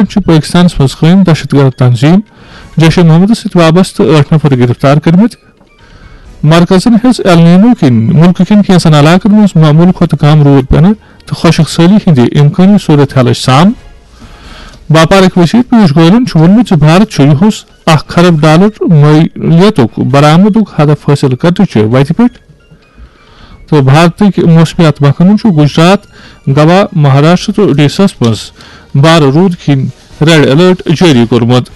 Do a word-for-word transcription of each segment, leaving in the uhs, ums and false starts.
چھِ پٲکِستانَس منٛز قٲیِم دہشت گرد تنظیٖم جیش محمدَس سۭتۍ وابستہٕ ٲٹھ نفر گِرفتار کٔرمٕتۍ۔ مرکزَن ہیٚژ ایل نینو کِنۍ مُلکہٕ کٮ۪ن کینٛژن علاقَن منٛز معموٗل کھۄتہٕ کم روٗد پٮ۪نہٕ تہٕ خۄشک سٲلی ہٕنٛدِ امکٲنی صورت حالٕچ سام۔ باپارٕکۍ وزیر پیوش گوئلَن چھُ ووٚنمُت زِ بھارت چھُ یِہُس اکھ خرب ڈالر مٲلیتُک برآمدُک ہدف حٲصِل کرنہٕ چہِ وتہِ پٮ۪ٹھ تہٕ بھارتٕکۍ موسمیات محکمَن چھُ گجرات، گوا، مہاراشٹر تہٕ اڈیشاہَس منٛز بارٕ روٗد کِنۍ ریڈ الرٹ جٲری کوٚرمُت۔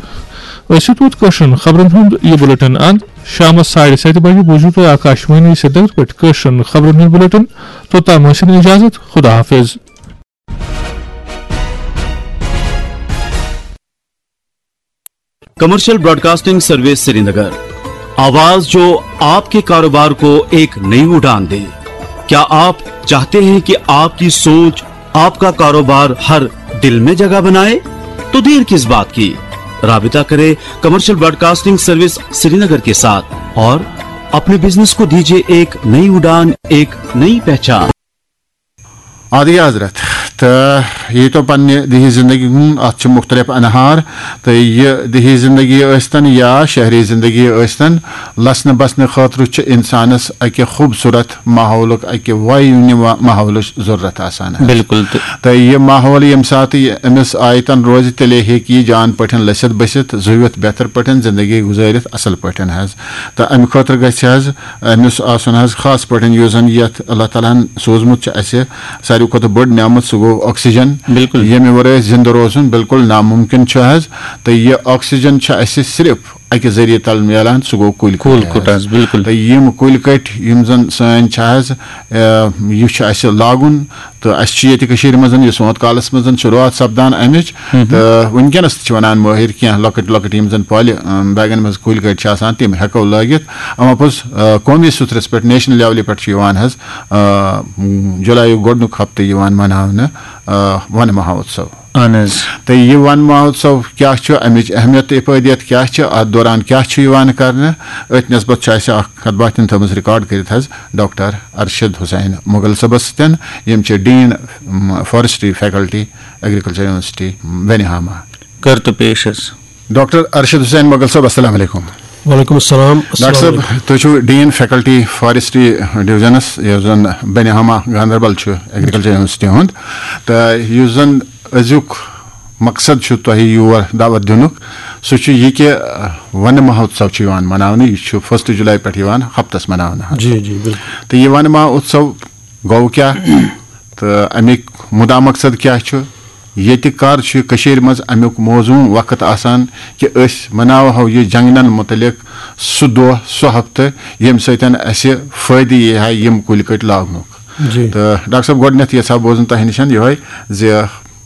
أسۍ چھِ توت کٲشرٮ۪ن خبرن ہُنٛد یہِ بُلٹن اند۔ شامَس ساڑِ ستہِ بجہِ بوٗزِو تُہۍ آکاشوانی سرینگر پٮ۪ٹھ کٲشرٮ۪ن خبرن ہُنٛد بُلٹن۔ توٚتام ٲسِن اجازت، خدا حافظ۔ کمرشل براڈکاسٹنگ سروس سرینگر، آواز جو آپ کے کاروبار کو ایک نئی اڑان دے۔ کیا آپ چاہتے ہیں کہ آپ کی سوچ، آپ کا کاروبار ہر دل میں جگہ بنائے؟ تو دیر کس بات کی؟ رابطہ کرے کمرشل براڈکاسٹنگ سروس سرینگر کے ساتھ اور اپنے بزنس کو دیجیے ایک نئی اڑان، ایک نئی پہچان۔ عادی حضرت، تہٕ یہِ تو پننہِ دِہی زندگی ہُنٛد، اَتھ چھِ مُختٔلِف انہار، تہٕ یہِ دِہی زندگی ٲسۍتن یا شہری زندگی ٲسۍتن، لسنہٕ بسنہٕ خٲطرٕ چھُ انسانس اکہِ خوٗبصوٗرت ماحولُک، اکہِ وایہِ نِوا ماحولٕچ ضروٗرت آسان حظ۔ بِلکُل۔ تہٕ تہٕ یہِ ماحول ییٚمہِ ساتہٕ یہِ أمِس آیتن روزِ، تیٚلے ہیٚکہِ یہِ جان پٲٹھۍ لٔسِتھ بٔسِتھ، زُوِتھ، بہتر پٲٹھۍ زندگی گُزٲرِتھ اصل پٲٹھۍ حظ۔ تہٕ امہِ خٲطرٕ گژھِ حظ أمِس آسُن حظ خاص پٲٹھۍ یُس زن یتھ اللہ تعالیٰ ہن سوٗزمُت چھُ اسہِ ساروی کھۄتہٕ بٔڑ نعمت، سُہ گوٚو آکسیجن۔ بِلکُل۔ ییٚمہِ ورٲے أسۍ زِندٕ روزُن بِلکُل نامُمکِن چھُ حظ۔ تہٕ یہِ آکسیجن چھُ اسہِ صرف اکہِ ذٔریعہٕ تل میلان، سُہ گوٚو کُلۍ کُلۍ کُٹۍ کُٹۍ حظ۔ حظ، بِلکُل۔ تہٕ یِم کُلۍ کٔٹۍ یِم زن سٲنۍ چھِ حظ، آ، یہِ چھُ اسہِ لاگُن۔ تہٕ اسہِ چھِ ییٚتہِ کٔشیٖرِ منٛز یہِ سونٛتھ کالس منٛز شروٗعات سپدان امِچ۔ تہٕ وٕنکیٚنس تہِ چھِ ونان مٲہِر کینٛہہ لۄکٕٹۍ لۄکٕٹۍ یِم زن پالہِ، آ، بیگن منٛز کُلۍ کٔٹۍ چھِ آسان، تِم ہٮ۪کو لٲگِتھ۔ اما پوٚز، آ، قومی سطرس پٮ۪ٹھ، نیشنل لیولہِ پٮ۪ٹھ چھُ یِوان حظ، آ، جُلایُک گۄڈٕنیُک ہفتہٕ یِوان مناونہٕ، آ، ون مہوتسو۔ اہن حظ۔ تہٕ یہِ ون مہوتسو کیٛاہ چھُ، امِچ اہمیت تہٕ افٲدیت کیٛاہ چھِ، اتھ دوران کیٛاہ چھُ یِوان کرنہٕ، أتھۍ نسبت چھُ اسہِ اکھ کتھ باتھ تھٲومٕژ ریکارڈ کٔرِتھ حظ ڈاکٹر ارشد حسین مغل صٲبس سۭتۍ، یِم چھِ ڈین، م، فارسٹری فیکلٹی، ایگریکلچر یونیورسٹی بنہاما۔ کر تو پیش حظ۔ ڈاکٹر ارشد حسین مغل صٲب، السلام علیکم۔ وعلیکم السلام۔ ڈاکٹر صٲب، تُہۍ چھِو ڈین فیکلٹی فارسٹری ڈویژنس، یُس زن بنہاما گاندربل چھُ ایگریکلچر یونیورسٹی ہُنٛد، تہٕ یُس زن أزیُک مقصد چھُ تۄہہِ یور دعوت دِنُک، سُہ چھُ یہِ کہِ، ٲہ، ونہٕ مہوتسو چھُ یِوان مناونہٕ، یہِ چھُ فٔسٹ جُلاے پٮ۪ٹھ یِوان ہفتس مناونہٕ حظ۔ جی، جی، بِلکُل۔ تہٕ یہِ ونہٕ مہوتسو گوٚو کیٛاہ تہٕ اَمیُک مُدا مقصد کیٛاہ چھُ؟ ییٚتہِ کر چھُ کٔشیٖرِ منٛز اَمیُک موزوٗن وقت آسان کہِ أسۍ مناوہو یہِ جنگلن مُتعلق سُہ دۄہ، سُہ ہفتہٕ، ییٚمہِ سۭتۍ اَسہِ فٲیدٕ یی ہا یِم کُلۍ کٔٹۍ لاگنُک؟ جی۔ تہٕ ڈاکٹر صٲب، گۄڈٕنٮ۪تھ یژھا بوزُن تۄہہِ نِش یِہوٚے زِ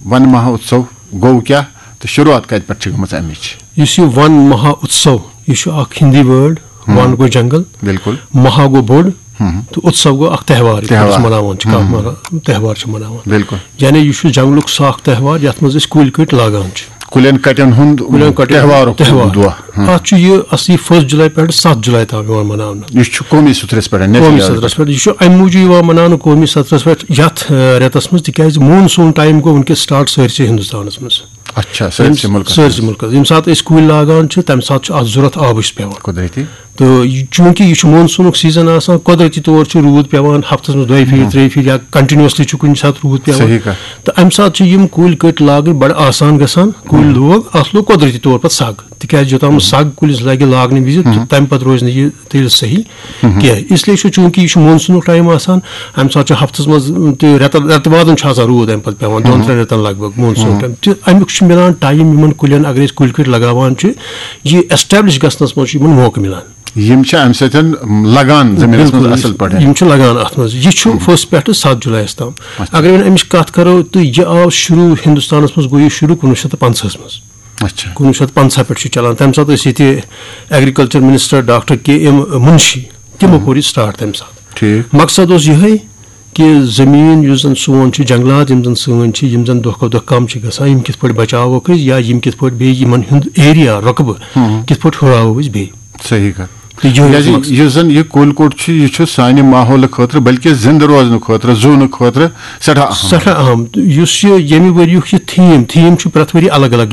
ون مہوتسو گوٚو کیٛاہ تہٕ شروٗعات کتہِ پٮ۪ٹھ چھِ گٔمٕژ اَمِچ؟ یُس یہِ ون مہوتسو، یہِ چھُ اکھ ہِندی وٲڈ۔ ہم۔ ون گوٚو جنگل، بِلکُل۔ مہا گوٚو بوٚڑ، ہم۔ تہٕ اتسو گوٚو اکھ تہوار یُس تہوار۔ أسۍ مناوان چھِ، کانٛہہ ہم۔ مہا-، تہوار چھِ مناوان۔ بِلکُل۔ یعنی یہِ چھُ جنگلُک سُہ اکھ تہوار یتھ منٛز أسۍ کُلۍ کٔٹۍ لاگان چھِ۔ کُلٮ۪ن کٹٮ۪ن ہُنٛد کُلٮ۪ن کٹٮ۪ن ہُنٛد تہوارُک تہوار۔ دۄہ۔ ہم۔ اتھ چھُ یہِ اصلی فٔسٹ جُلاے پٮ۪ٹھ ستھ جُلاے تام یِوان مناونہٕ۔ یہِ چھُ قومی سطرس پٮ۪ٹھ، نیشنل قومی لیول سطرس پٮ۪ٹھ۔ یہِ چھُ امہِ موٗجوٗب یِوان مناونہٕ قومی سطرس پٮ۪ٹھ یتھ، آ، رٮ۪تس منٛز، تِکیازِ مون سون ٹایم گوٚو وٕنکیٚس سٹارٹ سٲرسٕے ہندوستانس منٛز۔ اچھا، سٲرسٕے مُلکس سٲرسٕے منٛز۔ مُلکس۔ ییٚمہِ ساتہٕ أسۍ کُلۍ لاگان چھِ، تمہِ ساتہٕ چھُ اتھ ضروٗرت آبٕچ پٮ۪وان۔ قۄدرٔتی۔ تہٕ یہِ، چوٗنٛکہِ یہِ چھُ مون سونُک سیزن آسان، قۄدرٔتی طور چھُ روٗد پٮ۪وان ہفتس منٛز دۄیہِ پھِرِ، ہم۔ ترٛیٚیہِ پھِرِ یا کنٹینیوسلی چھُ کُنہِ ساتہٕ روٗد پٮ۪وان۔ صحیح کتھ۔ تہٕ امہِ ساتہٕ چھِ یِم کُلۍ کٔٹۍ لاگٕنۍ بڑٕ آسان گژھان۔ کُلۍ ہم۔ لوگ، اتھ لوگ قۄدرٔتی طور پتہٕ سگ، تِکیازِ یوٚتام نہٕ ہم۔ سگ کُلِس لگہِ لاگنہٕ وِزِ، ہم۔ تمہِ پتہٕ روزِ نہٕ یہِ تیٚلہِ صحیح ہم۔ کینٛہہ۔ اس لیے چھُ، چوٗنٛکہِ یہِ چھُ مون سونُک ٹایم آسان، امہِ ساتہٕ چھُ ہفتس منٛز تہِ رٮ۪تن، رٮ۪تہٕ وادن چھُ آسان روٗد امہِ پتہٕ پٮ۪وان، دۄن ہم۔ ترٛٮ۪ن رٮ۪تن لگ بگ مون سون ہم۔ ٹایم۔ تہٕ امیُک چھُ مِلان ٹایم یِمن کُلٮ۪ن، اگر أسۍ کُلۍ کٔٹۍ لگاوان چھِ، یہِ ایسٹیبلش گژھنس منٛز چھُ یِمن موقعہٕ مِلان۔ یِم چھِ امہِ سۭتۍ لگان زٔمیٖنَس منٛز بِلکُل، اَصٕل پٲٹھۍ۔ یِم چھِ لگان اَتھ منٛز۔ یہِ چھُ ہم۔ فٔسٹ پٮ۪ٹھٕ ستھ جُلایَس تام۔ اچھا۔ اگر وۄنۍ اَمِچ کَتھ کَرو، تہٕ یہِ آو شروٗع، ہِندُستانَس منٛز گوٚو یہِ شروٗع کُنوُہ شیٚتھ تہٕ پنٛژاہَس منٛز۔ اچھا۔ کُنوُہ شیٚتھ پنٛژاہ پٮ۪ٹھ چھُ چلان۔ تَمہِ ساتہٕ ٲسۍ ییٚتہِ ایگریکلچر منسٹر ڈاکٹر کے ایم مُنشی، تِمو ہم۔ کوٚر یہِ سٹارٹ تَمہِ ساتہٕ۔ ٹھیٖک۔ مقصد اوس یِہوٚے کہِ زٔمیٖن یُس زَن سون چھُ، جنٛگلات یِم زَن سٲنۍ چھِ، یِم زَن دۄہ کھۄتہٕ دۄہ کَم چھِ گژھان، یِم کِتھ پٲٹھۍ بَچاووکھ أسۍ یا یِم کِتھ پٲٹھۍ بیٚیہِ یِمَن ہُنٛد ایریا، رۄقبہٕ، ہم۔ کِتھ پٲٹھۍ ہُراوو أسۍ بیٚیہِ۔ صحیح کتھ۔ تہٕ یِہوٚے اوس کیٛازِ مقصد۔ یُس زَن یہِ کُلۍ کوٚٹ چھُ، یہِ چھُ سانہِ ماحولہٕ خٲطرٕ، بلکہِ زِندٕ روزنہٕ خٲطرٕ، زوٗنہٕ خٲطرٕ سٮ۪ٹھاہ اہم۔ سٮ۪ٹھاہ اہم۔ تہٕ یُس یہِ ییٚمہِ ؤریُک یہِ تھیٖم، تھیٖم چھُ پرٛٮ۪تھ ؤری الگ الگ